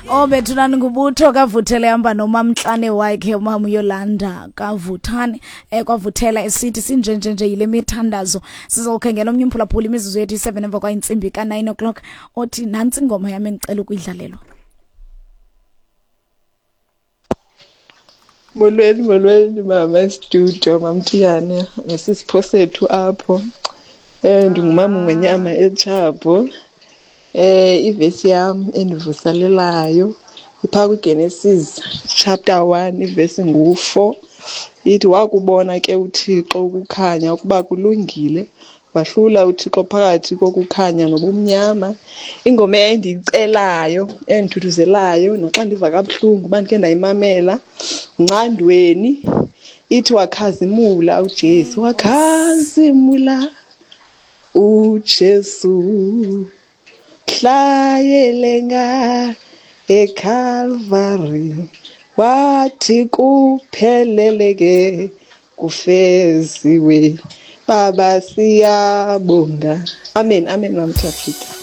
Oh bethunani ngubutho kavuthele hamba nomamntlane wakhe umama uYolanda kavuthane eh kwavuthela esithi sinjenje nje yile mithandazo. Sizokhengela omnye umphulaphuli imizuzu yethu i7 emva kwayintsimbi ka9 o'clock othi nantsi ingoma yami engicela ukuyidlalelwa. Molweni, molweni mama estudio, mamthiyane nesisipho sethu apho. Ndingumama Ngonyama eTshabho. Ivesi yam endivuselelayo iphaa kwiGenesis chapter 1 ivesi ngu-4 ithi wakubona ke uThixo ukukhanya ukuba kulungile Wahlula uThixo phakathi kokukhanya nobumnyama. Ingoma endiyicelayo endithuthuzelayo naxa ndiva kabuhlungu uba ndikhe ndayimamela Ncandweni ithi wakhazimula uJesu, wakhazimula uJesu hlayelenga eCalvary wathi kupheleleke kufeziwe baba siyabonga. Amen, amen mamthafika.